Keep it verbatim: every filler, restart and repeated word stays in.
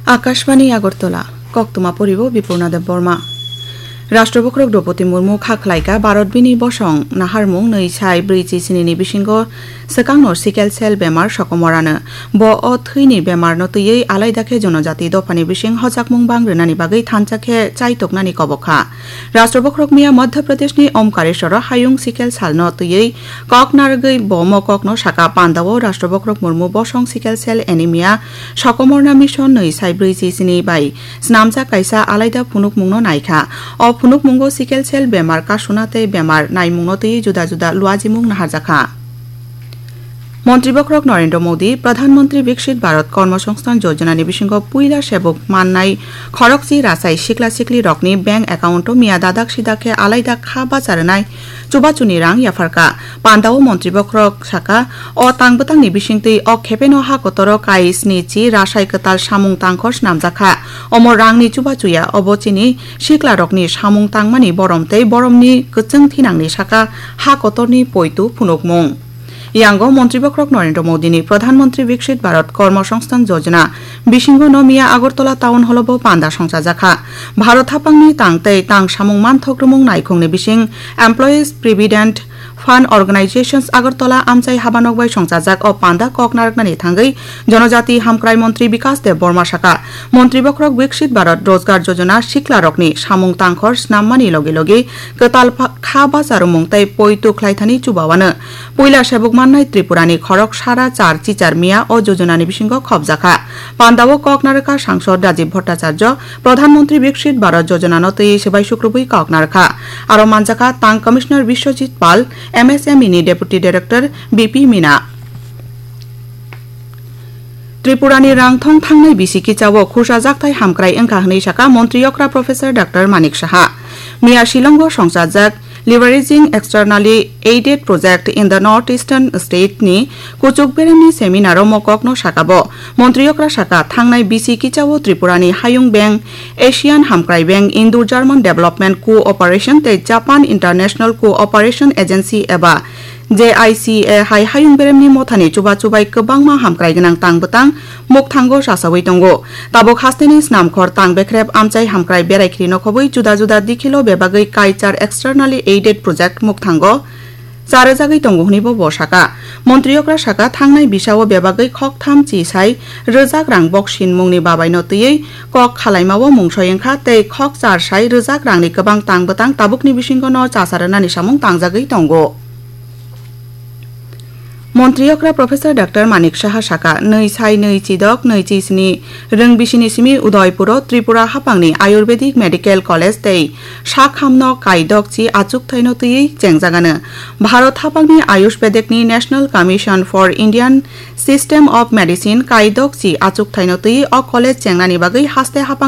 Akashbani Agartala, koktwma poribo Bipurna Debbarma. Rashtra Bokhorok Droupadi Murmu kha khlaika Bharat bini bosong naharmung nwi sai brwi chi sini ni bisingo swkangno sickle cell bemar sokomorano. Bo o thwini bemarno twiwi alaida khe jonojati dophani bising hojakmung bang rwnani bagwi thansa khe chaitoknani kobok kha. Rashtra Bokhorok miya Madhya Pradeshni Omkareshwaro hayung sickle cellno twiwi kok narwgwi bo mokokno saka. Pandao Rashtra Bokhorok Murmu bosong sickle cell anemia sokomorna mission nwi sai brwi chi sini bai swnamjak kaisa alaida phunukmungno naikha. O phunukmungo sickle cell bemar kasuna tei bemar naimungno twiwi juda juda luajimung naharjakha. Montri Bokhorok Narendra Modi, Pradhan Mantri Viksit Bharat Karma Songsthan Yojana ni bisingo puila sebuk mannai khorokchi rasai sikla sikli rokni bank account o miya dadak sidak khe alaida kha bacha rwnai chubachuni rang yapharkha. Pandao Montri Bokhorok saka, o tang bwtangni bisingtwi o khepeno ha kotoro kai sni chi rasai kwtal samung tangkhor swnamjakha. Omo rangni chubachuya obo chini sikla rokni samung tangmani borom tei boromni kwchwng thinangni saka ha kotorni poitu phunukmung. Yango Montri Bokhorok Narendra Modi ni Pradhan Mantri Viksit Bharat Karma Songsthan Yojana bisingo no miya Agartala Town Hall o bo panda songchajakha. Bharat haphangni tang tei tang samung manthok rwmung naikhungni bising Employees Provident Fund Organizations Agartala amchai habanok bai songchajak o panda kok narwknani thangwi Jonojati Hamkrai Montri Bikas Deb Borma saka, Montri Bokhorok Viksit Bharat Rojgar Yojana sikla rokni samung tangkhor snammani logi logi kwtal pha-, kha bacharumung tei poitu khlaithani chubawano puila sebuk mannai Tripurani khorok sara char chichar miya o jojonani bisingo khopjakha. Pandao kok narwkha Sangsod Rajiv Bhattacharya, Pradhan Mantri Viksit Bharat Jojonano twiwi swbai sukrubwi kok narwkha. Aro manjakha Tang Commissioner Biswajit Pal, M S M E ni Deputy Director B P Mina. Tripurani rangthong thangnai bisi kichao khursa jakthai hamkrai wngkha hwnwi saka Montri okra Professor Doctor Manik Saha. Miya Shillongo songchajak Leveraging Externally Aided Project in the North Eastern State ni kuchuk beremni seminar o mokokno saka bo. Montri okra saka, thangnai bisi kichao Tripurani Hayung Bank, Asian Hamkrai Bank, Indo-German Development Cooperation tei Japan International Cooperation Agency eba J I C A hai hayung beremni mothani chuba chubai kwbangma hamkrai gwnang tang bwtang mukthango chachawi tongo. Tabuk hasteni snamkhor tang bekrep amchai hamkrai berai khri nokhobwi juda juda dikhilo bebagwi kaichar externally aided project mukthango charwjagwi tongo hwnwi bo bo saka. Montri okra saka, thangnai bisao bebagwi khoktham chi sai rwjak rang boksin mungni babaino twiwi kok khalaimao mungsoi wngkha tei khok char sai rwjak rangni kwbang tang bwtang tabukni bisingo no chasa rwnani samung tangjagwi tongo. Montri okra Professor Doctor Manik Saha saka, nwi sai nwi chidok nwi chi sni rwng bisini simi Udaipuro Tripura haphangni Ayurvedic Medical College tei sak hamno kaidok chi achukthai no twiwi chengjagano. Bharat haphangni Ayush Vedekni National Commission for Indian System of Medicine kaidok chi achukthai no twiwi o college chengnani bagwi haste haphang